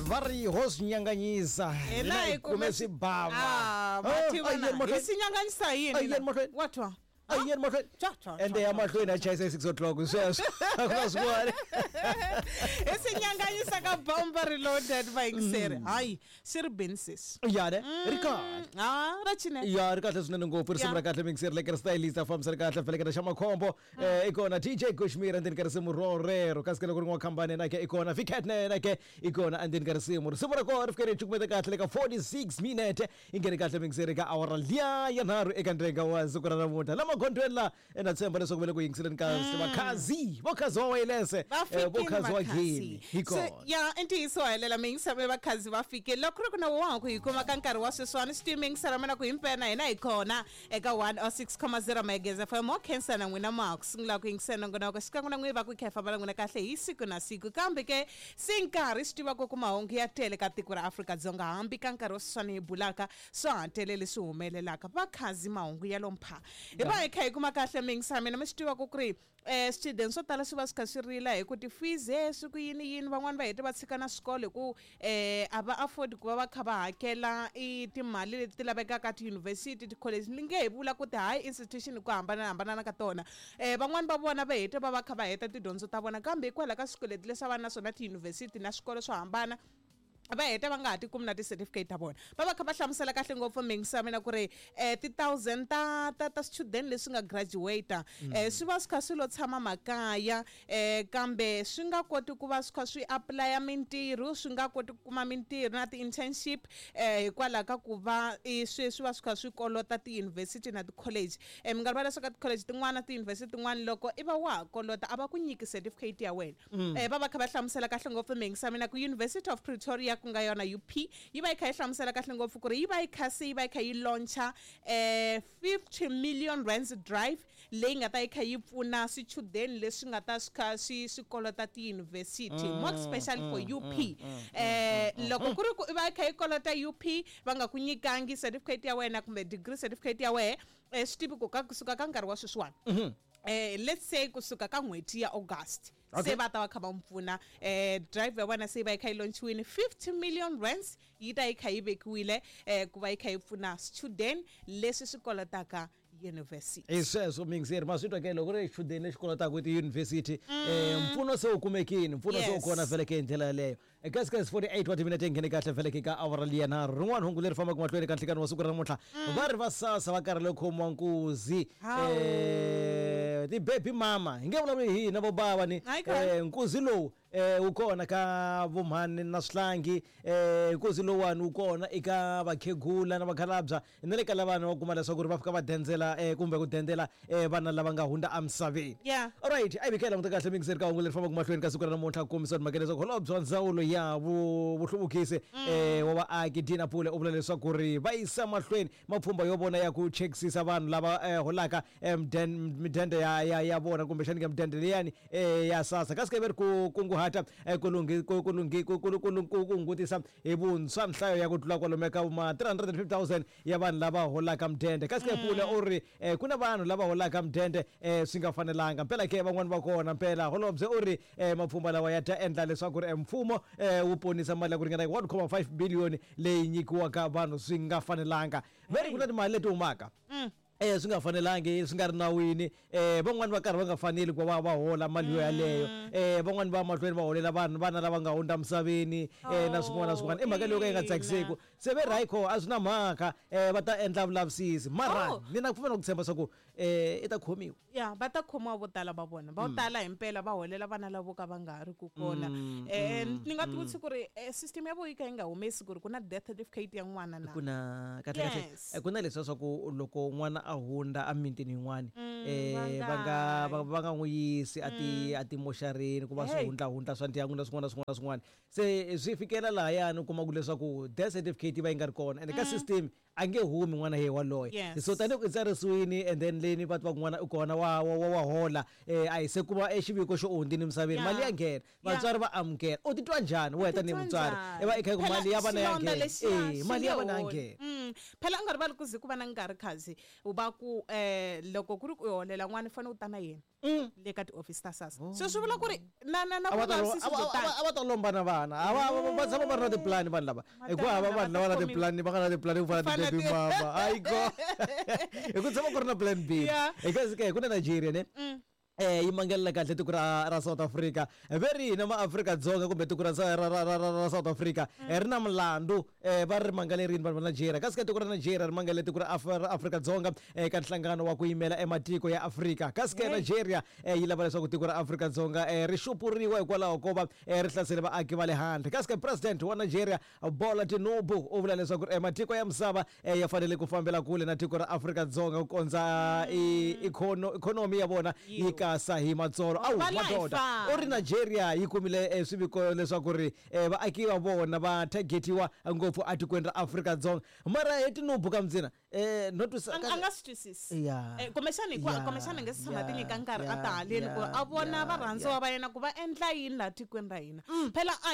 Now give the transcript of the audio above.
Va ri ho swi nyanganyisa Hina hi kume swibava. Ah, Ah, va a yeni mahlweni. hi swi nyanganyisa A yini yeni mahlweni. wa twa A yeni mahlweni. Twa, twa, Ende twa, ya twa. mahlweni a chayisa hi 6 o'clock sweswo. A ku na swin'wana. Hi swi nyanganyisa ka bomba reloaded vayingiseri. Hayi, swi ri bini sesi. Ya ne? Ri kahle. Ah, ra cinela. Ya ri kahle swinene ngopfu risimu Ya. ra kahle mixer le stylist a fambisa ri kahle feleketa xa makhombo. I kona DJ Kushmir endzeni ka risimu rorero kasi ke loko ri n'wa khambane na ke i kona Vicat na yena ke i kona endzeni ka risimu risimu ra kona ri fike ri cukumeta kahle le ka 46 minute i nghene kahle mixer ka awara liya ya nharhu eka ndrenga wa siku ra namuntlha la magondzweni la na tshemba leswaku va le ku yingiseleni ka vakhazi vokhazi wa wayilese Va fikile vokhazi wa vakhazi. geni hi Se, kona. ya i ntiyiso wa helela miyingiselo vakhazi va fikile loko ku ri ku na wa ha ku hi kuma ka nkarhi wa sweswiwani swi tiyimingisela mina ku himpela hina hi kona eka 106.0 Megez FM mo khensa na n'wina ma ha ku sungula ku yingisela nongonoko xikan'we na n'wina va ku khefa va la n'wina kahle hi siku na siku kambe ke si nkarhi swi tiva ku ku mahungu ya tele ka tiko ra Afrika-Dzonga hambi ka nkarhi wa sweswiwani hi bulaka swa ha tele leswi humelelaka vakhazi mahungu ya lompha hi va hi kha hi kuma kahle miyingisela mina mi swi tiva ku ku ri swichudeni swo tala swi va swi kha swi rila hi ku ti-fees he swi ku yini yini van'wani va hete va tshika na swikolo hi ku a va afford ku va va kha va hakela i timali leti ti lavekaka tiyunivhesiti ti-college ni nge hi vula ku ti-high institution hi ku hambanahambana ka tona van'wani va vona va hete va va kha va heta tidyondzo ta vona kambe hikwalaho ka swikweleti leswi a va na swona tiyunivhesiti na swikolo swo hambana va heta va nga ha ti kumi na ti-certificate ta vona va va kha va hlamusela kahle ngopfu mingisa ya mina ku ri ti-thousand ta swichudeni leswi nga graduate swi va swi kha swi lo tshama makaya kambe swi nga koti ku va swi kha swi apply-a mintirho swi nga koti ku kuma mintirho na ti-internship hikwalaho ka ku va i swi va swi kha swi kolota tiyunivhesiti na ti-college mi nga rivala leswaku ka ti-college tin'wana tiyunivhesiti tin'wana loko i va wa ha kolota a va ku nyiki certificate ya wena va va kha va hlamusela kahle ngopfu mingisa mina ku University of Pretoria ku nga yona UP yi va yi kha yi hlamusela kahle ngopfu ku ri yi va yi kha se yi va yi kha yi launcha 50 million rands drive leyi nga ta yi kha yi pfuna swichudeni leswi nga ta swi kha swi kolota tiyunivhesiti more especially for UP loko ku ri ku i va yi kha yi kolota UP va nga ku nyikangi certificate ya wena kumbe degree certificate ya wena swi tivi ku ka kusuka ka nkarhi wa sweswiwani let's say kusuka ka n'hweti ya August se va ta va kha va n'wi pfuna drive ya vona se yi va yi kha yi launchiwile 50 million rands yi ta yi kha yi vekiwile ku va yi kha yi pfuna student leswi swi kolotaka university. Hi sweswo mingizeri ma swi twa ke loko ri xichudeni lexi kolotaka tiyunivhesiti mpfuno se wu kumekile mpfuno se wu kona vhele ke hi ndlela yaleyo kasi kasi 48 wa timinete nghene kahle vhele ke ka awara liya nharhu rin'wana hungu leri fambaka mahlweni ka nhlikani wa siku ra namuntlha va ri va sasa va karhele khomiwa nkuzi ti-baby mama hi nge vulavuli hi hina vo bava ni nkuzi lowu wu kona ka vomhani na swihlangi nkuzi lowuwani wu kona eka vakhegula na vakhalabya na le ka lavana va kuma leswaku ri va fika va dendzela kumbe ku dendela vana lava nga hundza emisaveni. Alright a hi vika hi languta kahle mingiseri ka hungu leri fambaka mahlweni ka siku ra namuntlha ku kombisa timhaka leswaku holobye wa ndzawulo ya vuhluvukisi wa vaaki Dina Pule u vula leswaku ri va yisa mahlweni mapfhumba yo vona ya ku chekisisa vanhu lava holaka midende ya vona kumbexani ke midende liyani ya SASSA kasi ke ve ri ku kunguhata ku lunghi ku ku lunghi ku ku ku ku hungutisa hi vuntshwa nhlayo ya ku tlula kwalomu ka ma 350,000 ya vanhu lava holaka mudende kasi ke Pule u ri ku na vanhu lava holaka mudende swi nga fanelanga mpela ke van'wani va kona mpela holobye u ri mapfhumba lawa ya ta endla leswaku ri mfumo wu ponisa mali ya ku ringana 1.5 billion leyi nyikiwaka vanhu swi nga fanelanga ve ri ku na timali leti humaka swi nga fanelangi swi nga ri nawini van'wani va karhi va nga faneli ku va va hola mali yo yaleyo van'wani va mahlweni va holela vanhu vana lava nga hundza misaveni na swin'wana na swin'wana i mhaka leyo ka yi nga tsakiseki se ve ri hayi kho a swi na mhaka va ta endla vulavisisi mara ni na ku pfumela ku tshemba swa ku i ta khomiwa ya va ta khomiwa vo tala va vona vo tala himpela va holela vana lavo ka va nga ha ri ku kona ni nga tivutisi ku ri system ya vo yi ka yi nga humesi ku ri ku na death certificate ya n'wana na ku na kahle kahle ku na leswiya swa ku loko n'wana a hundza emitini yin'wani va nga va nga n'wi yisi a ti a timoxarini ku va swihundlahundla swa ndyangu na swin'wana na swin'wana na swin'wana se swi fikela lahayani u kuma ku leswaku death certificate yi va yi nga ri kona ende ka system a nge humi n'wana ye waloye so tanihi ku i tsarisiwini and then endleni, va tiva ku n'wana u kona, wa hola, a hi se kuma xiviko xo u hundzini emisaveni, mali ya nghena, vatswari va amukela. U titwa njhani wena tanihi mutswari i va i kha ku mali ya vana ya nghena? E mali ya vana ya nghena. Phela u nga rivali ku ze ku va na nkarhi khazi va ku loko ku ri ku u holela n'wana, u fanele u ta na yena le ka tiofisi ta SASSA. So swi vula ku ri na A va ta vulavisisi byo tala. A va ta lomba na vana. A va tshama va ri na tipulani vanhu lava, hikuva hava vanhu lava na tipulani, va nga na tipulani ku fana Fana ti-baby mama. Ayiko, hi ku tshama ku ri na plan B. Hi kasi ke ku na Nigeria ne, yi mangalela kahle tiko ra South Africa, ve ri hina maAfrika-Dzonga kumbe tiko ra South Africa ri na mulandu. Va ri mangalerini vanhu va Nigeria, kasi ka tiko ra Nigeria ri mangalele tiko ra Afrika-Dzonga ka nhlangano wa ku yimela ematiko ya Afrika. Kasi ke Nigeria yi lava leswaku tiko ra Afrika-Dzonga ri xupuriwa hikwalaho ko va ri hlasele vaaki va le handle. Kasi ke president wa Nigeria, Bola Tinubu, u vula leswaku matiko ya misava ya fanele ku fambela kule na tiko ra Afrika-Dzonga ku kondza ikhonomi ya vona yi kasa hi matsolo. Awu Va la hi madoda, fana. U ri Nigeria yi kumile swiviko leswaku ri vaaki va vona va targetiwa ngopfu atikweni ra Afrika-Dzonga. Mara hi Tinubu ka mdzina no twisa A nga swi twisisi. Kumbexani kumbexani nge se tshama ti nyika nkarhi a ta haleni ku a vona varhandziwa va yena ku va endla yini laha tikweni ra hina. Phela a